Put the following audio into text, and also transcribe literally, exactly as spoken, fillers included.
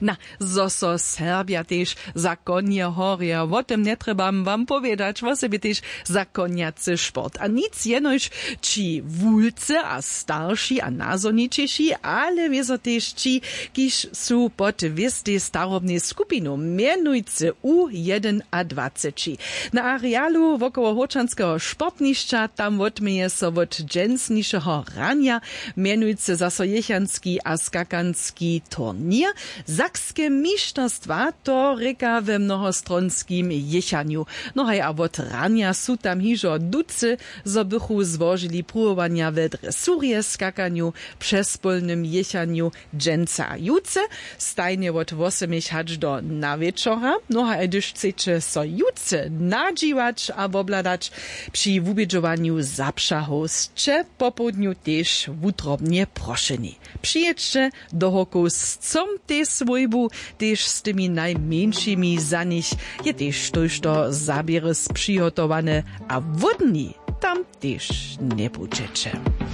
Na, zo so serbja tež za konje horje, wo tym njetrjebam wam powědać, wosebje tež za konjacy sport a nic jenož, ći wulcy a starši a nazornićeši, ale wězo tež ći, kiž su pod wěstej starobnej skupinu, mjenujcy u jedynadwaceći. Na arealu wokoło hórčanskeho sportnišća tam wotměje so wot dźensnišeho ranja mjenujcy zaso jěchanski a skakanski turněr. Sakske mišterstwa to rěka we mnohostronskim jěchanju. No haj a wot ranja su tam hižo ducy, zo bychu złožili pruwowanja we dresurje, skakanju, přespólnym jěchanju, dźensa a jutře, stajnje wot wosomich hač do nawječora. No haj hdyž chceće so jutře nadźiwać a wobhladać, při wubědźowanju zapřahow sće popołdnju tež wutrobnje prošeni. Přijědźće do hórkow z chcom tej swójbu, tež z tymi najmjeńšimi. Za nich je tež tójšto zaběrys přihotowane a hłódni tam tež njebudźeće.